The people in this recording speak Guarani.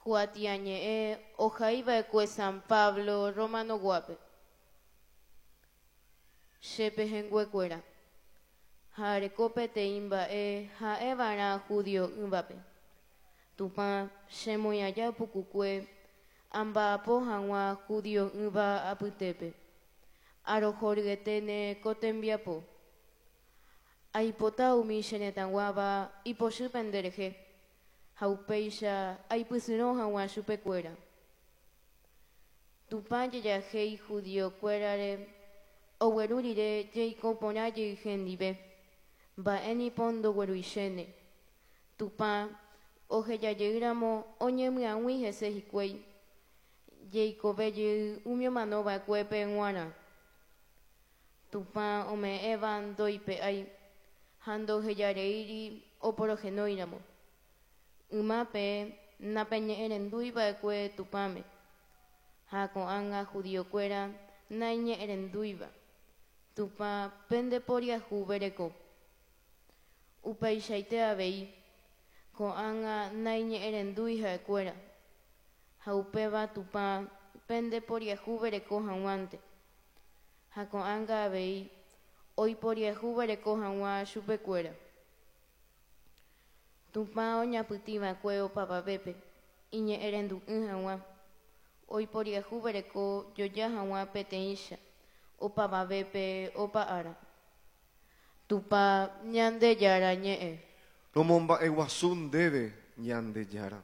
Kuatiañe'ẽ ohaiva'ekue San Pablo Romano-guápe. Che pehẽnguekuéra, ha areko peteĩ mba'e ha'eva'erã judio'ỹvape. Tupã chemoĩ aja pukukue amba'apo hag̃ua judio'ỹva apytépe. Arohoryeténe ko tembiapo. Aipota umi che retãguáva ipochy penderehe, ha upéicha aipysyrõ hag̃ua chupekuéra. Tupã jejahéi judiokuérare ogueru rire jeiko porã jey hendive, mba'e nipo ndogueruichéne. Tupã ohejajeýramo oñemyag̃ui hese hikuái, jeikove jey umi omanova'ekuépe g̃uarã. Tupã ome'ẽva ndoipe'ái ha ndohejareíri oporohenóiramo. Yma peẽ napeñe'ẽrenduiva'ekue Tupãme, ha ko'ág̃a judiokuéra naiñe'ẽrendúiva, Tupã pendeporiahuvereko. Upeichaite avei, ko'ág̃a naiñe'ẽrendúi ha'ekuéra, ha upéva Tupã pendeporiahuvereko hag̃uánte. Ha ko'ág̃a avei oiporiahuvereko hag̃ua chupekuéra. Tupã oñapytĩva'ekue opavavépe iñe'ẽrendu'ỹ hag̃ua, oiporiahuvereko joja hag̃ua peteĩcha opavavépe opa ára. Tupã Ñandejára ñe'ẽ. Romomba'eguasu ndéve, Ñandejára.